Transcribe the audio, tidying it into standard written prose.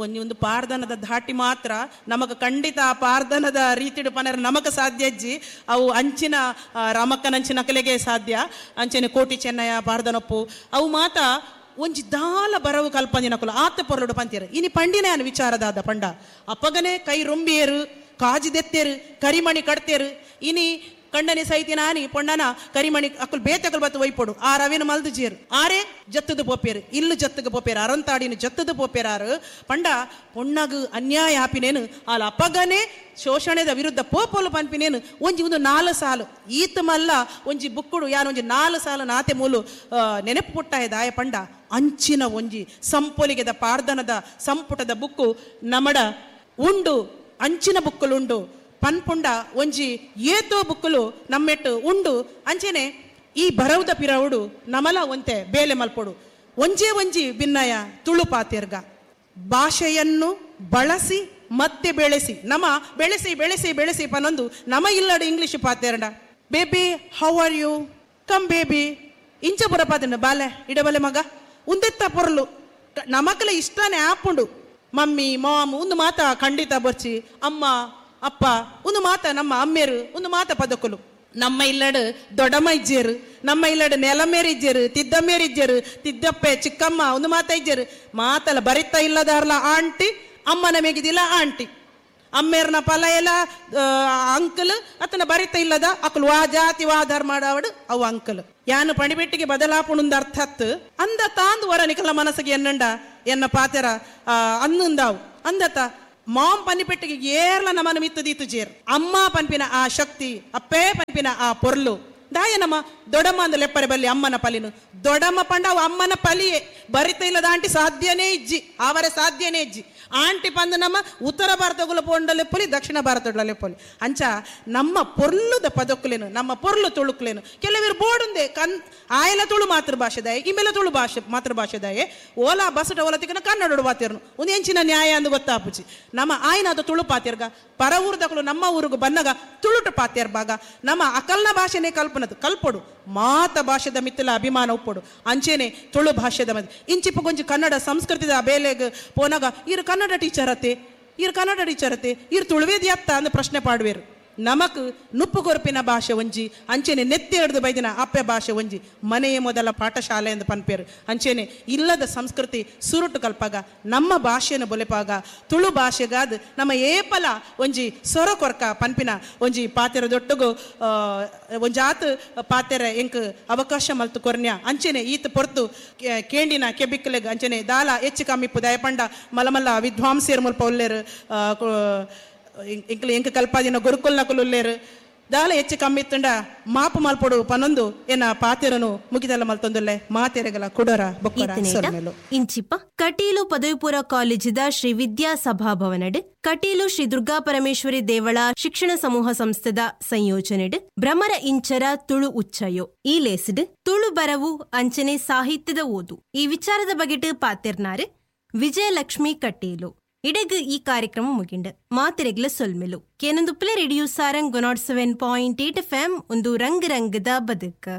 ಒಂಜಿ ಒಂದು ಪಾರ್ದನದ ಧಾಟಿ ಮಾತ್ರ ನಮಕ್ ಖಂಡಿತ ಆ ಪಾರ್ದನದ ರೀತಿಡು ಪನರ ನಮಕ್ ಸಾಧ್ಯ ಅಜ್ಜಿ. ಅವು ಅಂಚಿನ ರಾಮಕ್ಕನಂಚಿನ ಕಲೆಗೆ ಸಾಧ್ಯ. ಅಂಚನೆ ಕೋಟಿ ಚೆನ್ನಯ್ಯ ಪಾರ್ದನೊಪ್ಪು ಅವು ಮಾತ ಒಂಜಿ ದಾಲ ಬರವು ಕಲ್ಪಂದಿನಕುಲು ಆತ ಪೊರ್ಲುಡು ಪಂತಿಯರು. ಇನಿ ಪಂಡಿನ ವಿಚಾರದಾದ ಪಂಡ ಅಪ್ಪಗನೆ ಕೈ ರೊಂಬಿಯರು, ಕಾಜಿದೆತ್ತೇರು, ಕರಿಮಣಿ ಕಡ್ತೇರು. ಇನಿ ಕಂಡನೆ ಸೈತಿ ನಾನಿ ಪೊಣ್ಣನ ಕರಿಮಣಿ ಅಕ್ಕುಲ್ ಬೇತಕಲ್ ಬತ್ತು ಒಯ್ಪೊಡು ಆ ರವಿನ ಮಲ್ದು ಜೇರು ಆರೇ ಜತ್ತದ ಪೋಪೇರು, ಇಲ್ಲು ಜತ್ತಗ ಪೋಪೇರು, ಅರಂತಾಡಿನ ಜತ್ತದ ಪೋಪೇರಾರು. ಪಂಡ ಪೊಣ್ಣಗು ಅನ್ಯಾಯ ಆಪಿನೇನು ಆಲ ಅಪಗನೆ ಶೋಷಣೆದ ವಿರುದ್ಧ ಪೋಪೋಲು ಪನ್ಪಿನೇನು ಒಂಜಿ ಒಂದು 4 ಸಾಲು ಈತ ಮಲ್ಲ ಒಂಜಿ ಬುಕ್ಕುಡು ಯಾನ್ ಒಂಜಿ 4 ಸಾಲು ನಾತೆ ಮೂಲು ನೆನಪು ಪುಟ್ಟಾಯ ದಾಯ ಪಂಡ ಅಂಚಿನ ಒಂಜಿ ಸಂಪೊಲಿಗೆದ ಪಾರ್ದನದ ಸಂಪುಟದ ಬುಕ್ಕು ನಮಡ ಉಂಡು, ಅಂಚಿನ ಬುಕ್ಕುಲುಂಡು ಪನ್ಪುಂಡ ಒಂಜಿ ಏತೋ ಬುಕ್ಕುಲು ನಮ್ಮೆಟ್ಟು ಉಂಡು. ಅಂಚೆನೆ ಈ ಬರವುದ ಪಿರವುಡು ನಮಲ ಒಂತೆ ಬೇಲೆ ಮಲ್ಪೊಡು. ಒಂಜೇ ಒಂಜಿ ಭಿನ್ನಯ ತುಳು ಪಾತಿರ್ಗ ಭಾಷೆಯನ್ನು ಬಳಸಿ ಮತ್ತೆ ಬೆಳೆಸಿ, ನಮ ಬೆಳೆಸಿ ಬೆಳೆಸಿ ಬೆಳೆಸಿ ಪನೊಂದು ನಮ ಇಲ್ಲಡು English ಪಾತೇರ್ಡ. Baby how are you, come baby ಇಂಚ ಪುರ ಪಾತೇಂಡ ಬಾಲೆ ಇಡಬಲೆ ಮಗ ಉಂದೆತ್ತ ಪೊರ್ಲು ನಮಕಲ ಇಷ್ಟನೇ ಆಪುಂಡು. ಮಮ್ಮಿ ಮಾಮ್ ಒಂದು ಮಾತ ಖಂಡಿತ ಬರ್ಚಿ, ಅಮ್ಮ ಅಪ್ಪ ಒಂದು ಮಾತ ನಮ್ಮ ಅಮ್ಮೇರು ಒಂದು ಮಾತ ಪದಕುಲು. ನಮ್ಮ ಇಲ್ಲಡು ದೊಡ್ಡಮ್ಮ ಇಜ್ಜೇರು, ನಮ್ಮ ಇಲ್ಲಡು ನೆಲಮೇರು ಇಜ್ಜೇರು, ತಿದ್ದಮ್ಮೇರು ಇಜ್ಜೇರು, ತಿದ್ದಪ್ಪೆ ಚಿಕ್ಕಮ್ಮ ಒಂದು ಮಾತ ಇಜ್ಜೇರು. ಮಾತಲ್ಲ ಬರಿತಾ ಇಲ್ಲದಾರ್ಲ ಆಂಟಿ, ಅಮ್ಮನ ಮೇಗಿದಿಲ್ಲ ಆಂಟಿ, ಅಮ್ಮೇರ್ನ ಫಲ ಎಲ್ಲ ಅಂಕಲ್ ಅತನ ಬರಿತ ಇಲ್ಲದ ಅಕುಲು ವಾ ಜಾತಿ ವಾ ಧರ್ಮ ಆಡಾವಡು ಅವು ಅಂಕಲ್. ಯಾನು ಪಣಿಬೆಟ್ಟಿಗೆ ಬದಲಾಪುಣುಂದ ಅರ್ಥತ್ ಅಂದ ತಾಂದು ವರ ನಿಕಲ ಮನಸ್ಸಿಗೆ ಎನ್ನಂಡ ಎನ್ನ ಪಾತೆರ ಅನ್ನುಂದಾವು ಅಂದತ ಮಾಮ್ ಪನ್ನಿಪೆಟ್ಟಿಗೆ ಏರ್ಲ ನಮನ ಮಿತ್ತದೀತು ಜೇರ್. ಅಮ್ಮ ಪನ್ಪಿನ ಆ ಶಕ್ತಿ, ಅಪ್ಪೇ ಪನ್ಪಿನ ಆ ಪೊರ್ಲು ದಾಯ ನಮ್ಮ ದೊಡಮ್ಮ ಅಂದ ಲೆಪ್ಪರೆ ಬಲ್ಲಿ ಅಮ್ಮನ ಪಲಿನು ದೊಡಮ್ಮ ಪಂಡ ಅವು ಅಮ್ಮನ ಪಲಿಯೇ ಬರಿತ ಇಲ್ಲದ ಆಂಟಿ ಸಾಧ್ಯನೇ ಇಜ್ಜಿ, ಅವರ ಸಾಧ್ಯನೇ ಇಜ್ಜಿ. ಆಂಟಿ ಪಂದು ನಮ್ಮ ಉತ್ತರ ಭಾರತಗುಲ ಪೋಂಡ ಲೆಪ್ಪೊಲಿ, ದಕ್ಷಿಣ ಭಾರತಗಳ ಲೆಪ್ಪೊಲಿ. ಅಂಚ ನಮ್ಮ ಪೊರ್ಲುದ ಪದಕ್ಕುಲೇನು, ನಮ್ಮ ಪೊರ್ಲು ತುಳುಕ್ಲೇನು. ಕೆಲವರು ಬೋಡುಂದೆ ಕನ್ ಆಯಲ ತುಳು ಮಾತೃಭಾಷೆದಾಯ, ಇಮೇಲ ತುಳು ಭಾಷೆ ಮಾತೃಭಾಷೆದಾಯೆ, ಓಲಾ ಬಸಟ ಓಲ ತಿಕ್ಕನ ಕನ್ನಡ ಬಾತಿರ್ನು ಒಂದು ಎಂಚಿನ ನ್ಯಾಯ ಅಂದು ಗೊತ್ತಾಪುಜಿ. ನಮ್ಮ ಆಯ್ನಾದ ತುಳು ಪಾತಿರ್ಗ ಪರ ಊರ್ದಕಲು ನಮ್ಮ ಊರಿಗೂ ಬನ್ನಗ ತುಳುಟು ಪಾತಿರ್ಬಾಗ ನಮ್ಮ ಅಕಲ್ನ ಭಾಷೆನೇ ಕಲ್ಪನದು ಕಲ್ಪೊಡು ಮಾತ ಭಾಷೆದ ಮಿತ್ತಲ ಅಭಿಮಾನ ಉಪ್ಪೊಡು. ಅಂಚೆನೆ ತುಳು ಭಾಷೆದ ಮಧ್ಯೆ ಇಂಚಿಪ್ಪ ಕೊಂಚ ಕನ್ನಡ ಸಂಸ್ಕೃತಿದ ಬೇಲೆಗ್ ಪೋನಾಗ ಇರು ಕನ್ನಡ ಟೀಚರ್ ಅತ್ತೆ, ಇರು ಕನ್ನಡ ಟೀಚರ್ ಅತ್ತೆ, ಇರು ತುಳುವೇದಿ ಅತ್ತ ಅಂದ್ ಪ್ರಶ್ನೆ ಪಾಡುವೇರು. ನಮಕ್ ನುಪ್ಪು ಕೊರಪಿನ ಭಾಷೆ ಒಂಜಿ, ಅಂಚೆನೆ ನೆತ್ತಿ ಹಿಡಿದು ಬೈದಿನ ಅಪ್ಪೆ ಭಾಷೆ ಒಂಜಿ, ಮನೆಯ ಮೊದಲ ಪಾಠಶಾಲೆ ಎಂದು ಪನ್ಪೇರು. ಅಂಚೆನೆ ಇಲ್ಲದ ಸಂಸ್ಕೃತಿ ಸುರುಟು ಕಲ್ಪಾಗ ನಮ್ಮ ಭಾಷೆಯನ್ನು ಬೊಲೆಪಾಗ ತುಳು ಭಾಷೆಗಾದ ನಮ್ಮ ಏಪಲ ಒಂಜಿ ಸೊರ ಕೊರ್ಕ ಪನ್ಪಿನ ಒಂಜಿ ಪಾತೆರ ದೊಟ್ಟುಗು ಒಂಜಾತ್ ಪಾತೆರ ಎಂಕ್ ಅವಕಾಶ ಮಲ್ತು ಕೊರ್ನ್ಯ. ಅಂಚೆನೆ ಈತ ಪೊರ್ತು ಕೇಂಡಿನ ಕೆಬಿಕ್ಕಲೆಗ್ ಅಂಚೆನೆ ದಾಲ ಹೆಚ್ಚು ಕಮ್ಮಿಪ್ಪು ದಯಪಂಡ ಮಲಮಲ್ಲ ವಿದ್ವಾಂಸೇರ್ ಮುಲ್ಪ ಉಲ್ಲೇರು, ಎಂಕ್ಲು ಎಂಕ್ ಕಲ್ಪಾದಿನ ಗುರುಕುಲ್ನಕುಲು ಉಲ್ಲೇರು. ದಾಲ ಹೆಚ್ಚು ಕಮ್ಮಿ ಇತ್ತುಂಡ ಮಾಪು ಮಲ್ಪೊಡು ಪನೊಂದು ಎನ್ನ ಪಾತೆರನು ಮುಗಿದಲ್ಲ ಮಲ್ತೊಂದುಲ್ಲೆ ಮಾತೆರೆಗಲ ಕುಡರ ಬೊಕ್ಕರ ಸೊಲ್ಮೆಲು. ಇಂಚಿಪ್ಪ ಕಟೀಲು ಪದವಿಪೂರ್ವ ಕಾಲೇಜಿದ ಶ್ರೀ ವಿದ್ಯಾ ಸಭಾಭವನಡ್ ಕಟೀಲು ಶ್ರೀ ದುರ್ಗಾ ಪರಮೇಶ್ವರಿ ದೇವಳ ಶಿಕ್ಷಣ ಸಮೂಹ ಸಂಸ್ಥೆದ ಸಂಯೋಜನೆಡ್ ಭ್ರಮರ ಇಂಚರ ತುಳು ಉಚ್ಚಯೋ ಈ ಲೇಸಿಡ್ ತುಳು ಬರವು ಅಂಚನೆ ಸಾಹಿತ್ಯದ ಓದು ಈ ವಿಚಾರದ ಬಗೆಟ್ ಪಾತೆರ್ನಾರು ವಿಜಯಲಕ್ಷ್ಮಿ ಕಟೀಲು. ಇಡಗು ಈ ಕಾರ್ಯಕ್ರಮ ಮುಗಿಂಡು ಮಾತೆರೆಗ್ಲ ಸೊಲ್ಮೆಲು. ಕೇನೊಂದುಪ್ಲೆ ರೇಡಿಯೋ ಸಾರಂಗ್ 107.8 FM ಒಂದು ರಂಗ್ ರಂಗದ ಬದುಕು.